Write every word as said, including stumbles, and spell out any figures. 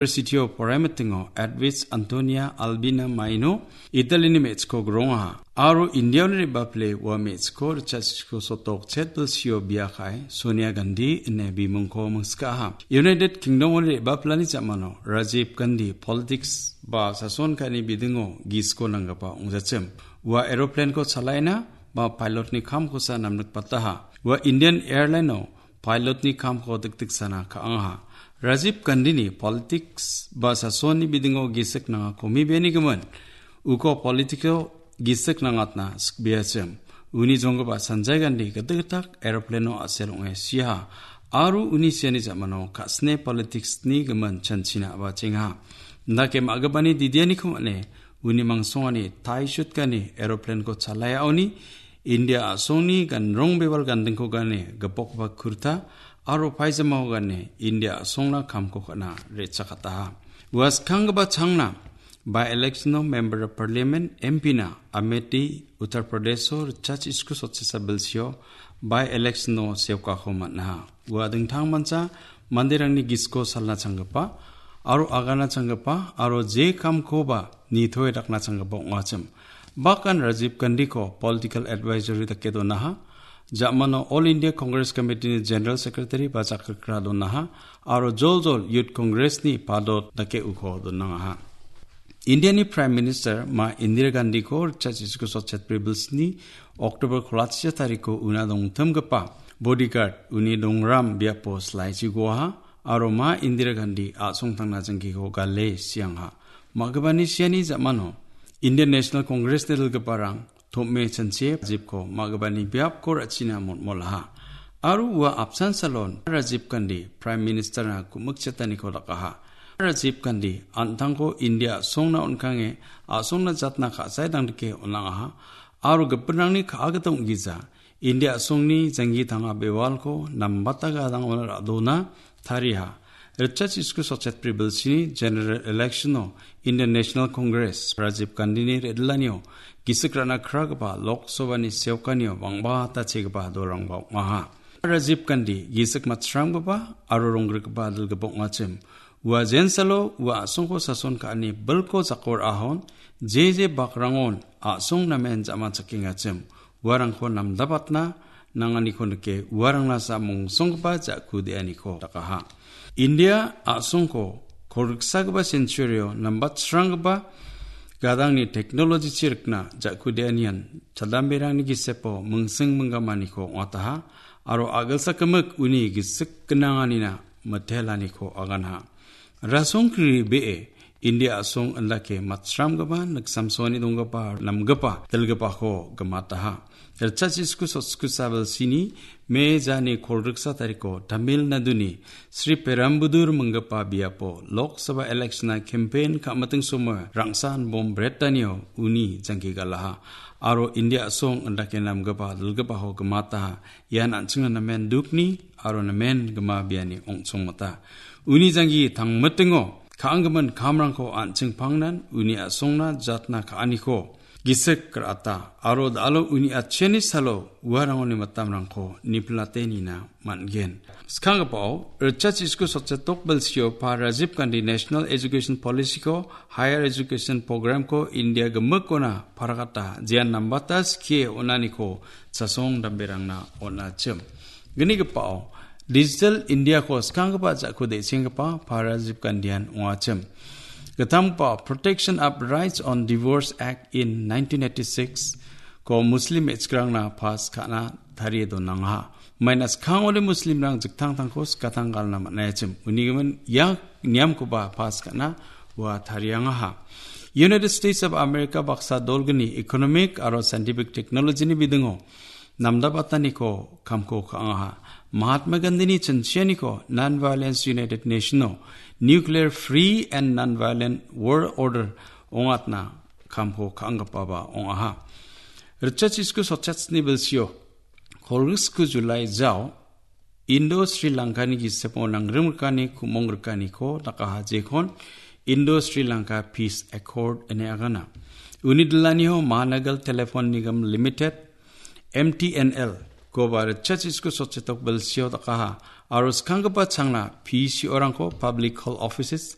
University-o poraimitingo Edwidge Antonia Albina Maino Italy-ni me·chikko grongaha. Aro India-oni re·baple ua me·chikko ritchasiko sotok chet bilsio bia ka·e Sonia Gandhi ine bimungko mingskaha. United Kingdom-oni re·baplani jamano Rajiv Gandhi politics ba sason ka·ani bidingo gisiko nanggipa ong·jachim. Ua aeroplane-ko chalaina ba pilot-ni kamkosa namnikbataha. Ua Indian Airline-o pilot-ni kamko dikdiksana ka·angaha. Rajiv Gandhi-ni politics ba sasonni bidingo gisik nangakomi benigimin, uko politiko gisik nangatna sikbiachim. Uni jonggipa Sanjay Gandhi gitikgitak aeroplane-o a·sel ong·e siaha. Aro uni siani jamano ka·sine politics-ni gimin chanchina a·bachengaha. Indake ma·gipani didianiko man·e uni mangsongani taisutgani aeroplane-ko chalaiaoni India a·songni ganrong bewal gandingko gane gipokgipa kurta aro paijamao gane India a·songna kamko ka·na re·chakataha. Ua skanggipa changna by-election-o Member of Parliament, M P-na Amethi, Uttar Pradesh-o ritchachiko sotchisa bilsio by-election-o seokako man·aha. Ua dingtangmancha manderangni gisiko salna changgipa aro agana changgipa aro je kamkoba nitoe dakna changgipa ong·achim. Bakan Rajiv Gandhi-ko political advisory dake donaha. Jamano All India Congress Committee-ni General Secretary ba jakkalgra donaha. Aro joljol Youth Congress-ni padot dake uko donangaha. India-ni Prime Minister Ma Indira Gandhi-ko ritchachiko sotchet bilsni October kolachia tariko una dongtimgipa bodyguard uni dongram biapo slaichi goaha aro Ma Indira Gandhi a·songtangna jingkiko gale siangha. Ma·gipani siani jamano Indian National Congress-ni dilgiparang tom·e chanchie Rajivko ma·gipani biapko ra·china motmolaha. Aro ua apsan salon Rajiv Gandhi Prime Minister-na ku·mikchataniko dakaha. Rajiv Gandhi an·tangko India a·songna on·kange a·songna jatna ka·sae dangdike on·angaha. Aro gipinrangni ka·a gita ong·gija India a·songni janggi tanga bewalko nambata gadangona ra·dona tariaha. Ritchachiko sotchet bilsini General Election-o Indian National Congress Rajiv Gandhi-ni re·dillanio gisik ra·na kragipa Lok Sabha-ni seokanio bang·bata chegipa dolrangba ong·aha. Rajiv Gandhi gisik matchramgipa aro ronggrikgipa dilgipa ong·achim. Ua jensalo ua a·songko sason ka·ani bilko jako ra·ahon jeje bakrangon a·song namen ja·manchakengachim. Uarangko namdabatna nanganiko nike uarangna sa mongsonggipa ja·ku de·aniko dakaha. India a·songko kolriksagipa century-o nambatsranggipa gadangni technology-chi rikna ja·ku de·anian chadamberangni gisepo mingsing minggamaniko ong·ataha aro a·gilsa gimik uni gisik gnanganina mitelaniko aganha. Rasongkri be·e India a·song indake matchramgipa niksamsoani donggipa namgipa dilgipako gimataha. Ritchachiko sotchiko sabilsini me jani kolriksa tariko Tamil Naduni Sri Perumbudur minggipa biapo Lok Sabha election-na campaign ka·miting somoio rangsan bom brettanio uni jangki galaha. Aro India a·song indake namgipa dilgipako gimataha. Ian an·chingna namen dukni aro namen gima biani ong·chongmota. Uni janggi tangmitingo ka·anggimin kamrangko an·ching pangnan uni a·songna jatna ka·aniko gisik ra·ata aro da·alo uni atchiani salo uarangoni mitamrangko niplate nina man·gen. Skanggipao ritchachiko sotchetok bilsio pa Rajiv Gandhi National Education Policy-ko, Higher Education Program-ko India gimikona paragata jean nambata skie on·aniko chasong damberangna on·achim. Gnigipao Digital India-ko skanggipa ja·ku de·senggipa pa Rajiv Gandhian ong·achim. Gittamgipa Protection of Rights on Divorce Act in nineteen eighty-six-ko Muslim me·chikrangna pass ka·na tarie donangaha. Maina skangode Muslimrang jiktangtangko skatang galna man·aiachim. Unigimin ia niamkoba pass ka·na ua tariangaha. United States of America baksa dolgni economic aro scientific technology-ni bidingo namdabataniko kamko ka·angaha. Mahatma Gandhi-ni chinchianiko Non-Violence United Nation-o Nuclear Free and Non-Violent World Order ong·atna kamko ka·anggipaba ong·aha. Ritchachiko sotchachni bilsio kolgriksku Julai jao Indo Sri Lankani gisepo nangrim rikani ku·mong rikaniko dakaha jekon Indo Sri Lanka Peace Accord ine agana. Uni dilaniho Mahanagar Telephone Nigam Limited, M T N L, koba ritchachiko sotchetok bilsio dakaha aro skanggipa changna P C O-rangko, Public Health Offices,